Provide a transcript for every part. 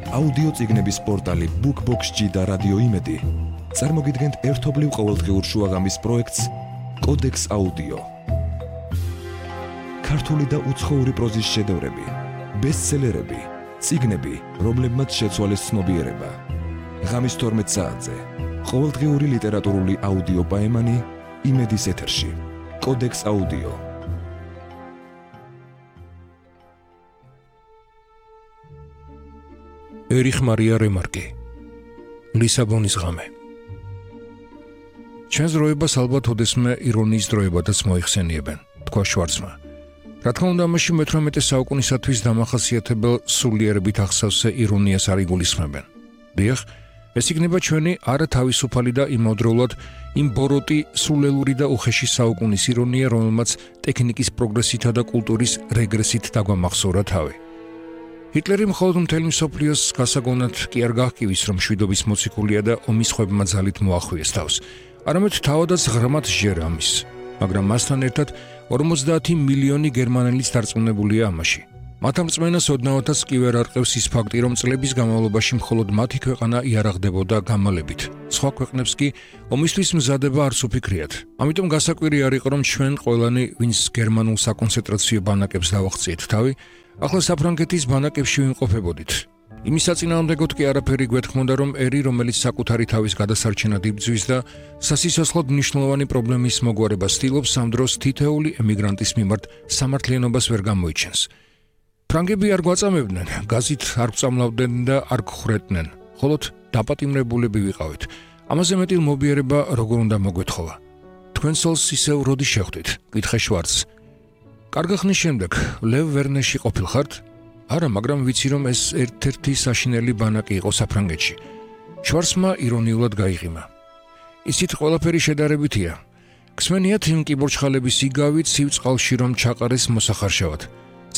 აუდიო წიგნების პორტალი BookBox-G და რადიო იმედი წარმოგიდგენთ ერთობლივ ყოველდღიურ შუაღამის პროექტს კოდექს აუდიო. ქართული და უცხოური პროზის შედევრები, ბესტსელერები, წიგნები, რომლებმაც შეცვალეს ცნობიერება. ღამის 12 საათზე ყოველდღიური ლიტერატურული აუდიო პაემანი იმედის ეთერში. კოდექს აუდიო. ერიხ მარია რემარკი, ლისაბონის ღამე. ჩვენს დროებას ალბათ ოდესმე ირონიის დროებადაც მოიხსენიებენ, თქვა შვარცმა. რა თქმა უნდა, ამაში მე-18 საუკუნისათვის დამახასიათებელ სულიერებით ახსავსე ირონიას არ იგულისხმებენ. დიახ, ეს იქნება ჩვენი არათავისუფალი და იმავდროულად იმბოროტი, სულელური და უხეში საუკუნის ირონია, რომელმაც ტექნიკის პროგრესითა და კულტურის რეგრესით დაგვამახსოვრა თავი. ჰიტლერი მხოლოდ მთელი მსოფლიოს გასაგონად კი არ გაჰკივის, რომ მშვიდობის მოციქულია და ომის ხვებმა ძალით მოახვიეს თავს. არამედ თავადაც ღრმად სჯერა ამის, მაგრამ მასთან ერთად 50 მილიონი გერმანელიც დარწმუნებულია ამაში. მათ ამ რწმენას ოდნავადაც კი ვერ არყევს ის ფაქტი, რომ წლების განმავლობაში მხოლოდ მათი ქვეყანა იარაღდებოდა გამალებით. სხვა ქვეყნებს კი ომისთვის მზადება არც უფიქრიათ. ამიტომ გასაკვირი არ იყო, რომ ჩვენ ყველანი, ვინც გერმანულ საკონცენტრაციო ბანაკებს დავაღწიეთ თავი, ახლა საფრანგეთის ბანაკებში ვიმყოფებოდით. იმის საწინააღმდეგოდ კი არაფერი გვეთქმოდა, რომ ერი, რომელიც საკუთარი თავის გადასარჩენად იბრძვის და სასიცოცხლოდ მნიშვნელოვანი პრობლემის მოგვარებას ცდილობს, ამ დროს თითოეული ემიგრანტის მიმართ სამართლიანობას ვერ გამოიჩენს. ფრანგები არ გვაწამებდნენ, გაზით არ გვწამლავდნენ და არ გხრეტნენ, ხოლოდ დაპატიმრებულები ვიყავით. ამაზე მეტი მობიერება როგორ უნდა მოგვეთხოვა? თქვენ სოლს ისევ როდი შეხვდით? კითხე შვარცს. კარგი ხნის შემდეგ ლევ ვერნერში ყოფილხართ? არა, მაგრამ ვიცი, რომ ეს ერთ-ერთი საშინელი ბანაკი იყო საფრანგეთში. შვარცმა ირონიულად გაიღიმა. ისიც ყველაფერი შედარებითია. გსმენიათ იმ კიბორჩხალების იგავით ცივ წყალში რომ ჩაყარეს მოსახარშავად.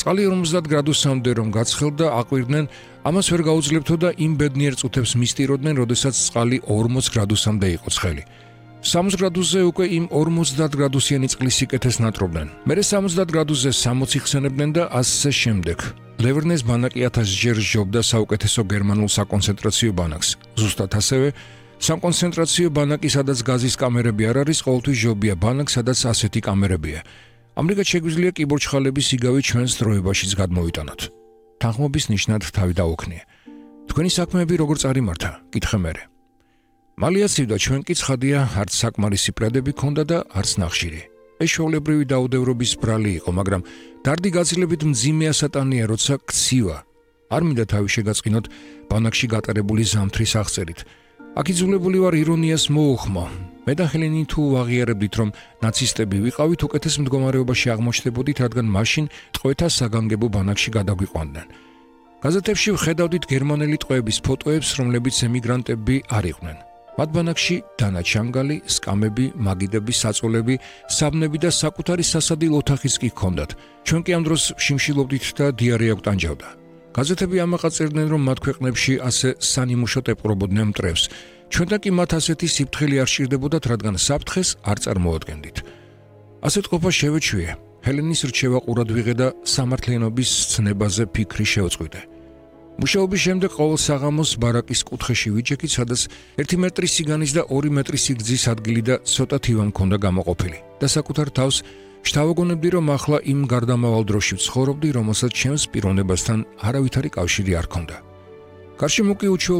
წყალი 50 გრადუსამდე რომ გაცხელდა, აყვირდნენ, ამას ვერ გაუძლებთო და იმ ბედნიერ წუთებს მისტიროდნენ, როდესაც წყალი 40 გრადუსამდე იყო ცხელი. 60 გრადუსზე უკვე იმ 50 გრადუსიანი წყლის სიკეთეს ნატრობდნენ. მერე 70 გრადუსზე 60 იხსენებდნენ და ასე შემდეგ. ლევერნეს ბანაკი 1000 ჯერ სჯობდა საუკეთესო გერმანულ საკონცენტრაციო ბანაკს. ზუსტად ასევე, საკონცენტრაციო ბანაკი, სადაც გაზის კამერები არ არის, ყოველთვის სჯობია ბანაკ, სადაც ასეთი კამერებია. ამრიგად შეგვიძლია კიბორჩხალების იგავი ჩვენს დროებაშიც გადმოვიტანოთ. თანხმობის ნიშნად თავი დაუქნია. თქვენი საქმეები როგორ წარიმართა? კითხე მერე. მალიაცივდა, ჩვენ კი ცხადია, არც საკმარისი პრედები ქონდა და არც ნახშირი. ეს ჩვეულებრივი დაუდევრობის ბრალი იყო, მაგრამ დარდი გაცილებით მძიმე ასატანია, როცა ქცივა. არ მინდა თავი შეგაწყინოთ ბანაკში გატარებული ზამთრის აღწერით. აქ იძულებული ვარ ირონიას მოუხმო. მე და ჰელენი თუ ვაღიარებდით, რომ ნაცისტები ვიყავით, უკეთეს მდგომარეობაში აღმოჩნდებოდით, რადგან მაშინ ტყვეთა საგანგებო ბანაკში გადაგვიყვანდნენ. გაზეთებში ვხედავდით გერმანელი ტყვეების ფოტოებს, რომლებიც ემიგრანტები არ იყვნენ. მათ ბანაკში დანაჩანგალი, სკამები, მაგიდები, საწოლები, საბნები და საკუთარი სასადილ ოთახიც კი ჰქონდათ. ჩვენ კი ამ დროს ვშიმშილობდით და დიარეა გვტანჯავდა. გაზეთები ამაყაწერდნენ, რომ მათ ქვეყნებში ასე სანიმუშოდ ეპყრობოდნენ მტრევს. ჩვენთან კი მათ ასეთი სიფრთხილე არ სჭირდებოდათ, რადგან საფრთხეს არ წარმოადგენდით. ასეთ ყოფა შევეჩვიე. ჰელენის რჩევა ყურად ვიღე და სამართლიანობის ცნებაზე ფიქრი შევწყვიტე. მუშაობის შემდეგ ყოველ საღამოს ბარაკის კუთხეში ვიჯექით, სადაც 1 მეტრი სიგანის და 2 მეტრი სიგრძის ადგილი და ცოტა თივა მქონდა გამოყოფილი. და საკუთარ თავს შთავაგონებდი, რომ ახლა იმ გარდამავალ დროში ვცხოვრობდი, რომელსაც ჩემს პიროვნებასთან არავითარი კავშირი არ ჰქონდა. გარშემო კი უჩვეულო